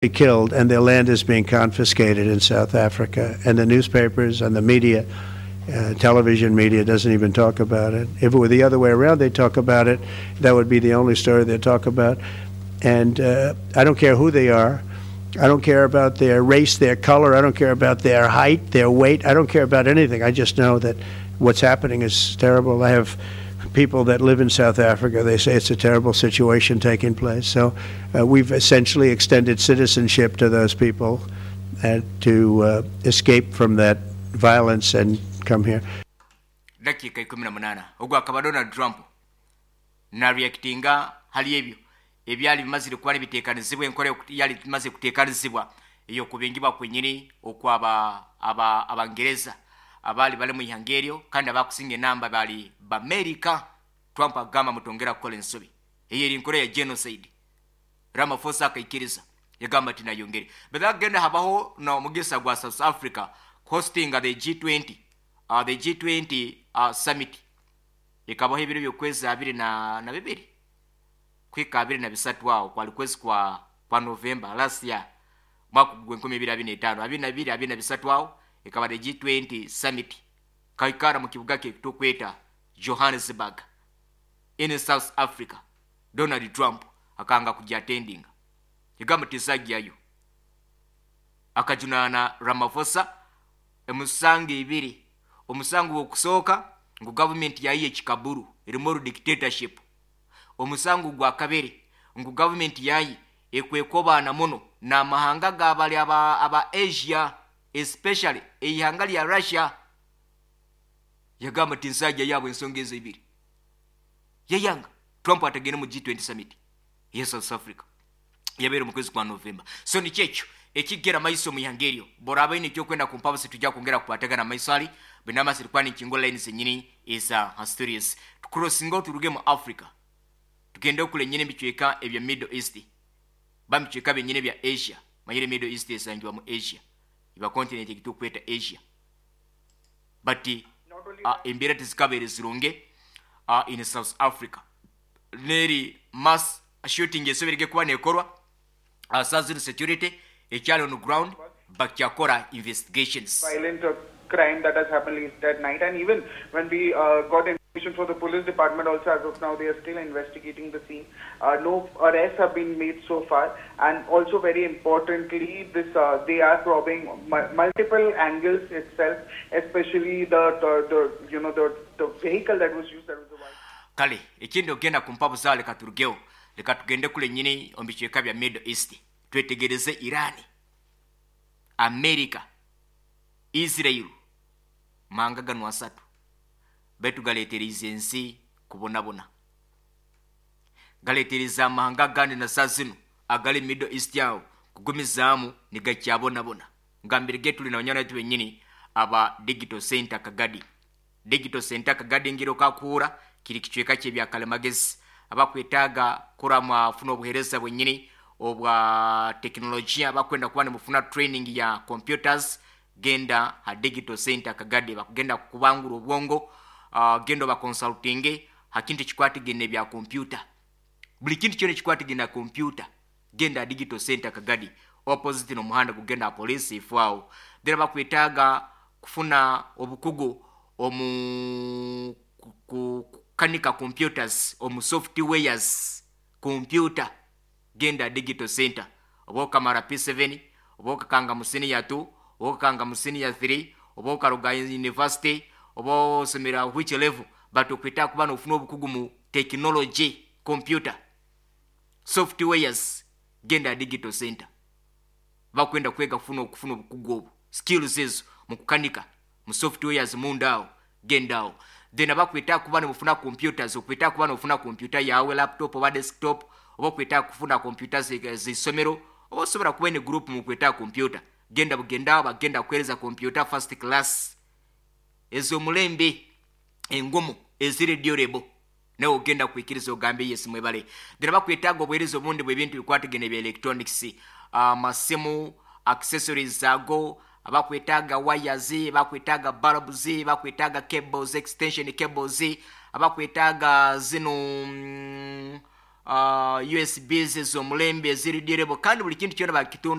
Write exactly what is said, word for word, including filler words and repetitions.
Killed and their land is being confiscated in South Africa. And the newspapers and the media, uh, television media, doesn't even talk about it. If it were the other way around, they'd talk about it. That would be the only story they'd talk about. And uh, I don't care who they are. I don't care about their race, their color. I don't care about their height, their weight. I don't care about anything. I just know that what's happening is terrible. I have people that live in South Africa. They say it's a terrible situation taking place. So uh, we've essentially extended citizenship to those people uh, to uh, escape from that violence and come here. Dakiika ikumi na munaana. Ogwo akaba Donald Trump nareactinga hali ebyo ebyali bimazire kuba nibiteekanizibwa, enkola yali bimaze kuteekanizibwa ey'okubingibwa kwenyini okwaba aba Abangereza abaali bali mu ihanga eryo, kandi abakusinga enamba bali Bamerika. Trump agamba, "Mutongera kukola ensobi eyo, eri nkola ya genocide." Ramaphosa akaikiriza, yagamba ati nayongere. But agenda habaho n'omugisa gwa South Africa hosting the G twenty, uh, the G twenty uh, summit ekabaho ebiro byokwezi abiri na, na bibiri kwika abiri na bisatu, awo kwali kwezi kwa kwa November last year, mwaka gwenkumi ebiri abiri na etaano, abiri na bibiri, abiri na bisatu. Awo ekaba the G twenty summit kaikara mu kibuga kye tukweta Johannesburg in South Africa. Donald Trump akanga kujya attending, yagamba tisajjayo. Akajunaana Ramaphosa emisango ebiri. Omusango gwokusooka ngu gavumenti yayiye ekikaburu, erimu oru dictatorship. Omusango gwa kabiri ngu gavumenti yayi ekwekobaana muno n'amahanga gabali aba, aba Asia, especially eihanga lya Russia. Yagamba ti nsajja yaabwe. Ensonga ezo ebiri yayanga Trump atagende mu G twenty summit ye South Africa yabeera mu kwezi kwa November. So nikyo ekyo ekigera maiso mu ihanga eryo. Boraba ine ekyokwenda kumpabusi, tujja kwongera kukwatagana maiso ali bwenamasi tukwani nkingo line zenyini eza stories. Tucrossinga, turuge mu Africa, tugende okule nyini ebicweka ebya Middle East, bamicweka byenyini bya Asia. Manyire Middle East esangibwa mu Asia, iba continent ekitukweta Asia, but uh, embeera tezikabeere zirunge uh, in South Africa. Neri mass shooting esoberege kuba nekorwa. uh, southern security ekyali on ground bakyakora investigations. Violent uh, crime that has happened late at night. And even when we uh, got information for the police department also, as of now, they are still investigating the scene. Uh, no arrests have been made so far. And also very importantly, this uh, they are probing mu- multiple angles itself, especially the, the, the you know, the, the vehicle that was used, that was the white. Kale ekindi ogenda ku mpabuza, leka turugeho, leka tugende kule nyini omu bicweka bya Middle East, twetegereze Irani, America, Israel. Manga gano asatu baitu galeetereza ensi kubonabona, galeetereza amahanga agandi na saa zino agali Middle East awo kugumizaamu nigakyabonabona. Ngambire ge tuli na banywana baitu benyini aba Digital Center Kagadi. Digital Center Kagadi ngiro kakuura kiri kicweka kyebyakalemagezi. Abakwetaaga kuramwa afuna obuhereza bwenyini obwa tekinologiya, abakwenda kuba nimufuna training ya computers, genda ha Digital Center Kagadi, bakugenda kukubangura obwongo. uh, genda obaconsultinge ha kintu ekikwatagene bya computer, buli kintu kyona ekikwatagene na computer. Genda Digital Center Kagadi, opposite n'omuhanda gugenda ha police ifu awo. Then bakwetaaga kufuna obukugu omu ku- ku- kukanika computers, omu softwares computer, genda Digital Center. Oba okamara P seven, oba okakanga mu senior two, oba okakanga mu senior three, oba okaruga university, oba osomera which level, but okwetaaga kuba nofuna obukugu mu technology, computer softwares, genda Digital Center. Bakwenda kwega kufuna okufuna obukugu obwo, skills ezo mu kukanika, mu softwares munda awo, genda awo. Then abakwetaaga kuba nemufuna computers, okwetaaga kuba nofuna computer yawe, laptop oba desktop, oba okwetaaga kufuna computer z'isomero, oba osobola kuba ne group mukwetaaga computer, genda bugenda awo, bagenda kuhereza computer first class ez'omulembe, engumu, eziri durable, nawe ogenda kwikiriza ogambe yes, mwebale. Then bakwetaaga obuweereza obundi bwebintu bikwatagene bya electronics, amasimu, accessories ago, abakwetaaga wires, bakwetaaga bulbs, bakwetaaga cables, extension cables, abakwetaaga zino mm, uh, U S Bs ez'omulembe eziri durable, kandi buli kintu kyona bakitunda.